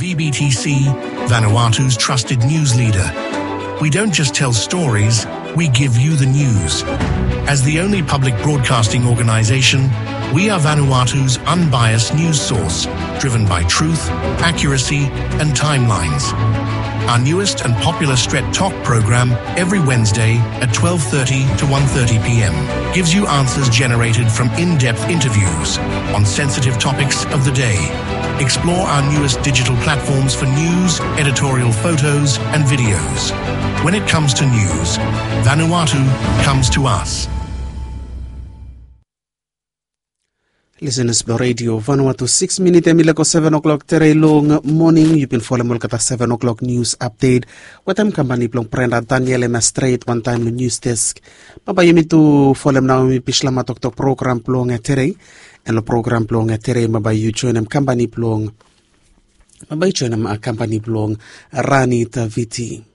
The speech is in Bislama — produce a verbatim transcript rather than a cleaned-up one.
V B T C, Vanuatu's trusted news leader. We don't just tell stories, we give you the news. As the only public broadcasting organization, we are Vanuatu's unbiased news source, driven by truth, accuracy, and timelines. Our newest and popular Stret Talk program every Wednesday at twelve thirty to one thirty p m gives you answers generated from in-depth interviews on sensitive topics of the day. Explore our newest digital platforms for news, editorial photos, and videos. When it comes to news, Vanuatu comes to us. Lisenas blong redio Vanuatu, sikis minit em i leko seven o'clock tere long moning. Yu bin folem olgeta seven o'clock nius apdet wetem kampani blong Brenda Daniel ena stret wantaem long nius desk. Bambae yumi tu folem nao yumi bishlama toktok program blong tere. En long program blong tere bambae yu joenem kampani blong bambae yu joenem kampani blong Rani Taviti.